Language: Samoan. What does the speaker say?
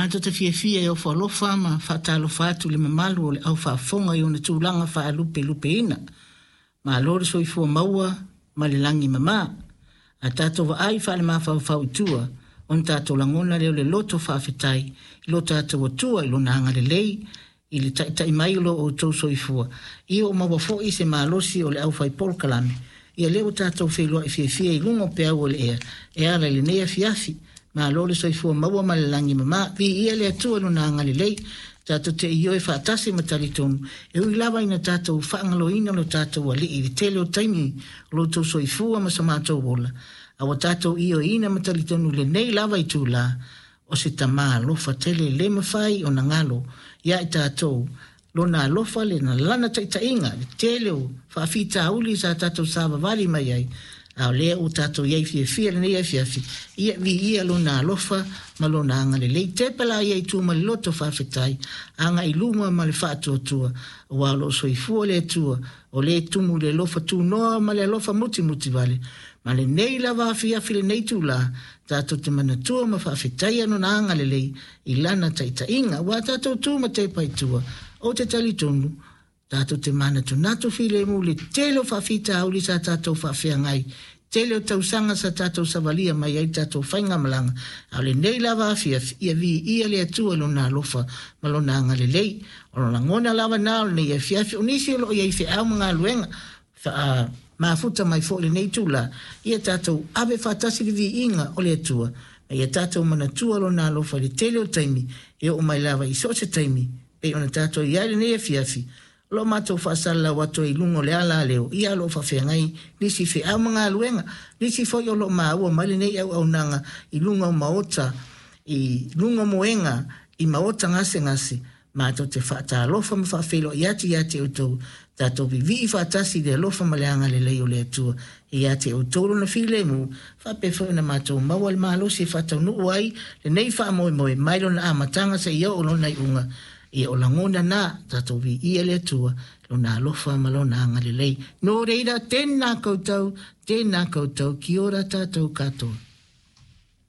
Matou te fiafia e ofo alofa ma faatalofa atu i le mamalu o le au faafofoga i ona tulaga faalupelupeina. Malo le soifua maua ma le lagi mama. A tatou vaai faalemafaufau i tua, ona tatou lagona lea o le loto faafetai i lo tatou Atua i Lona agalelei i le taitai mai o lo outou soifua, ia ua maua foi se malosi o le aufai polokalame, ia lea ua tatou feiloai fiafia i luga o peau o le ea e ala i lenei afiafi. Malo le soifua maua ma le lagi mama. Viia le Atua i Lona agalelei. Tatou te ioe faatasi ma talitonu, e ui lava ina tatou faagaloina lo tatou Alii i le tele o taimi o lo outou soifua ma so matou ola, a ua tatou ioeina ma talitonu i lenei lava itula, O se tama alofa tele le mafai ona galo ia i tatou lona alofa le na lana taitaiga le tele o faafitauli sa tatou savavali mai ai, a o lea ua tatou i ai fiafia i lenei afiafi, ia viia lona alofa ma lona agalelei. Tepa laia i tua ma le loto faafetai, agai i luma ma le faatuatua, aua o lo o soifua le Atua, o lea e tumu i le alofa tunoa ma le alofa mutimuti vale. Ma lenei lava afiafi lenei itula, tatou te manatua ma faafetaia Lona agalelei i Lana taitaiga. Aua tatou tu ma tepa i tua, ou te talitonu, tatou te manatunatu filemu i le tele o faafitauli sa tatou faafeagai, tele o tausaga sa tatou savalia mai ai le tatou faigamalaga, a o lenei lava afiafi, ia viia le Atua i Lona alofa ma Lona agalelei. O lagona lava na o lenei afiafi, o nisi o lo o i ai i feau ma galuega, Mafuta mai foi lenei itula, ia tatou ave faatasi le viiga o le Atua, ma ia tatou manatua Lona alofa i le tele o taimi, e oo mai lava i so o se taimi, pei ona tatou i ai lenei afiafi, o lo o matou faasalalau atu ai i luga o le alaleo, ia o lo o faafeagai nisi feau ma galuega, nisi foi o lo o maua mai lenei auaunaga i luga o maota, i luga o moega, i maota gasegase, Matou te faatalofa ma faafeiloai atu ia te outou, tatou vivii faatasi i le alofa ma le agalelei o le Atua ia te outou Lona filemu, faapea foi ona matou maua le malosi e faataunuu ai lenei faamoemoe mai lona amataga seia oo lona iuga. Ia o lagona na, tatou viia le Atua, Lona alofa ma Lona agalelei. Nō reira, tēnā koutou, tēnā koutou, kia ora tātou katoa.